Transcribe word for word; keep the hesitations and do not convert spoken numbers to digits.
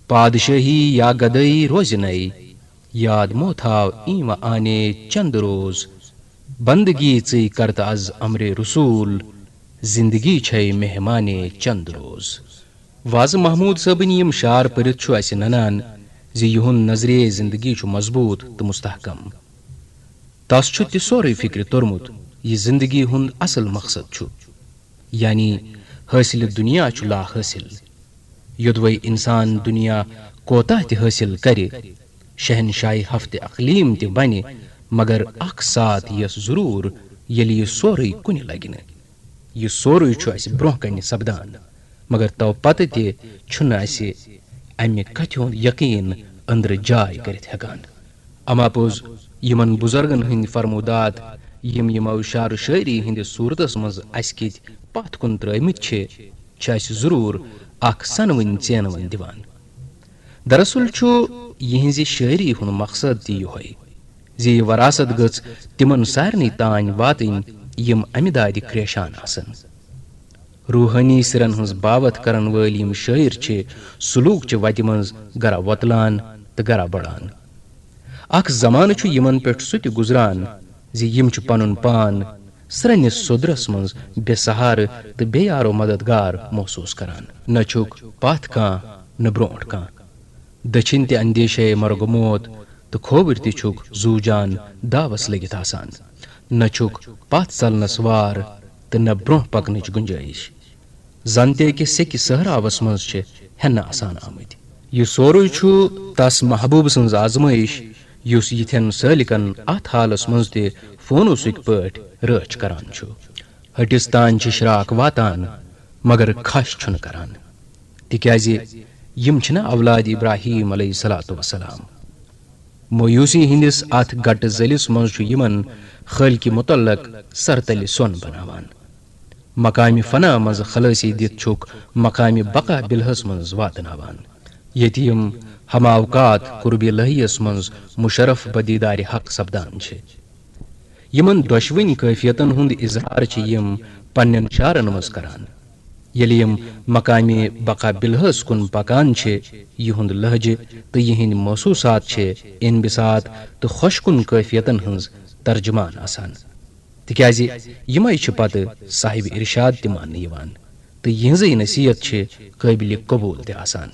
پادشاہی یا گدٲیی روزِ نَے، یاد مو تھاو ایٖنوَ آنے چند روز۔ بندگی ژٕے کرتہٕ از امرِ رسول، زندگی چھے مہمانے چند روز۔ وازٕ محمود صٲبٕنۍ یِم شعر پٔرِتھ چھُ اسہِ ننان زِ یِہُنٛد نظریہ زندگی چھُ مضبوط تہٕ مستحکم۔ تس چھُ تہِ سورُے فکرِ توٚرمُت، یہِ زندگی ہُنٛد اصل مقصد چھُ، یعنی حٲصِلِ دُنیا چھُ لا حٲصِل۔ یوٚدوَے انسان دُنیا کوتاہ تہِ حٲصِل کرِ، شہنشاہی ہفتِ اقلیٖم تہِ بنہِ، مگر اکھ ساتھ یِیَس ضروٗر، ییٚلہِ یہِ سورُے کُنہِ لگہِ نہٕ۔ یہِ سورُے چھُ اسہِ برونٛہہ کنہِ سپدان، مگر تو پتہٕ تہِ چھُنہٕ اسہِ امہِ کتھِ ہُنٛد یقین أنٛدرٕ جاے کٔرِتھ ہٮ۪کان۔ اما پوٚز، یِمن بُزرگن ہٕنٛدۍ فرمودات، یِم یِمو شعر و شٲعری ہٕنٛدِس صوٗرتس منٛز اسہِ کِتۍ پتھ کُن ترٲومٕتۍ چھِ، چھِ اسہِ ضروٗر اکھ سنوٕنۍ ژینوٕنۍ دِوان۔ دراصل چھُ یِہنٛزِ شٲعری ہُنٛد مقصد تہِ یِہوٚے زِ یہِ وراثت گٔژھ تِمن سارنٕے تام واتٕنۍ، یِم امہِ دادِ کریشان آسن۔ روحٲنی سِرن ہٕنٛز باوتھ کرن وٲلۍ یِم شٲعر چھِ، سلوک چہِ وتہِ منٛز گرا وۄتلان تہٕ گرا بڑان۔ اکھ زمانہٕ چھُ یِمن پٮ۪ٹھ سُہ تہِ گُزران زِ یِم چھِ پنُن پان سرٛنِس سوٚدرس منٛز بے سہارٕ تہٕ بے یارو مددگار محسوس کران۔ نہ چھُکھ پتھ کانٛہہ، نہ برونٛٹھ کانٛہہ۔ دٔچھِنۍ تہِ اندیشے مرگ موت تہٕ کھووٕرۍ تہِ چھُکھ زوٗ جان داوس لٔگِتھ آسان۔ نہ چھُکھ پتھ ژلنس وار تہٕ نہ برونٛہہ پکنٕچ گُنجٲیِش۔ زن تہِ أکِس سیٚکہِ صحراوس منٛز چھِ ہٮ۪نہٕ آسان آمٕتۍ۔ یہِ سورُے چھُ تس محبوٗب سٕنٛز آزمٲیِش، یُس یِتھٮ۪ن سٲلِکن اتھ حالس منٛز تہِ فونوسٕکۍ پٲٹھۍ رٲچھ کران چھُ۔ ہٹِس تام چھِ شراک واتان، مگر کھش چھُنہٕ کران، تِکیازِ یِم چھِنہٕ اولاد ابراہیم علیہ الصلوۃ والسلام۔ مویوسی ہٕنٛدِس اتھ گٹہٕ ذٔلِس منٛز چھُ یِمن خٲلقِ متعلق سرتلہِ سۄن بناوان۔ مقامِ فنا منٛز خلٲصی دِتھ چھُکھ مقامِ بقا بالحس منٛز واتناوان، ییٚتہِ یِم ہم اوقات قربِ الہیس منٛز مشرف بدیدارِ حق سپدان چھِ۔ یِمن دۄشوٕنۍ کٲفیتن ہُنٛد اظہار چھِ یِم پننٮ۪ن شعرن منٛز کران۔ ییٚلہِ یِم مقامِ بقا بالحس کُن پکان چھِ، یِہُنٛد لہجہٕ تہٕ یِہنٛدۍ محسوسات چھِ انبساط تہٕ خۄش کُن کٲفیتن ہٕنٛز ترجمان آسان، تِکیازِ یِمے چھِ پتہٕ صاحب ارشاد تہِ ماننہٕ یِوان تہٕ یِہنٛزٕے نصیحت چھِ قٲبلِ قبول تہِ آسان۔